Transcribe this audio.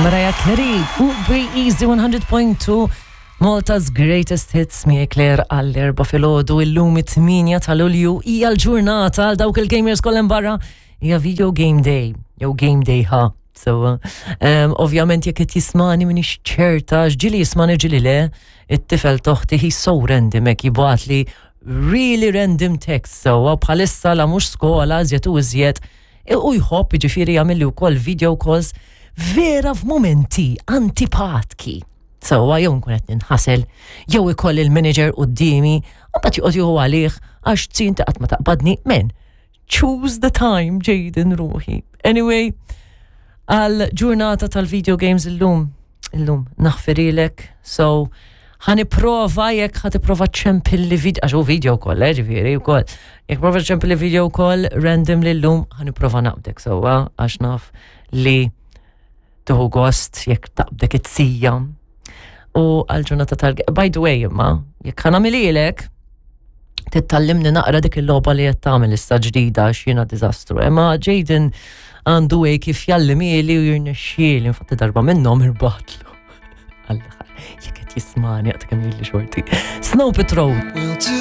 Mariah Carey fuq Be Easy 100.2 Malta's Greatest Hits miegħi Claire għall-erba filgħodu illum it-8 ta' Lulju hija l-ġurnata għal dawk il-gamers kollha barra hija Video Game Day jew Game Day ha. So, um, ovvjament jekk qed jismani minix ċerta, ġili jismani ġili le, it-tifel toħti he's so random hekk jibgħatli really random text so bħalissa la mhux skola iżjed u iżjed u jħobb jiġifieri jagħmilli wkoll video calls vera f'mumenti antipatki. Sewwa jew nkun qed ninħasel, jew ikoll il-manager quddiemi, u mbagħad joqgħod jieħu għalih għax tzin ta' qatt ma taqbadni. Men, choose the time, Jaden ruħi. Anyway, għal ġurnata tal-video games illum, illum naħfirilek, so ħaniprova jekk ħa tipprova ċempilli video, għax hu video call, eh, ġifieri wkoll. Jekk prova ċempilli video call random li llum ħaniprova naqbdek sewwa għax naf li tuħu gost jekk taqbdek it-sija. U għal-ġurnata tal By the way, imma, jekk ħanamililek, tittallimni naqra dik il-logħba li qed tagħmel issa ġdida għax jiena diżastru. Imma Jaden għandu way kif jallimili u jirnexxieli, infatti darba minnhom irbaħtlu. Alla, jekk qed jismani għad kemm li xorti. Snow Patrol.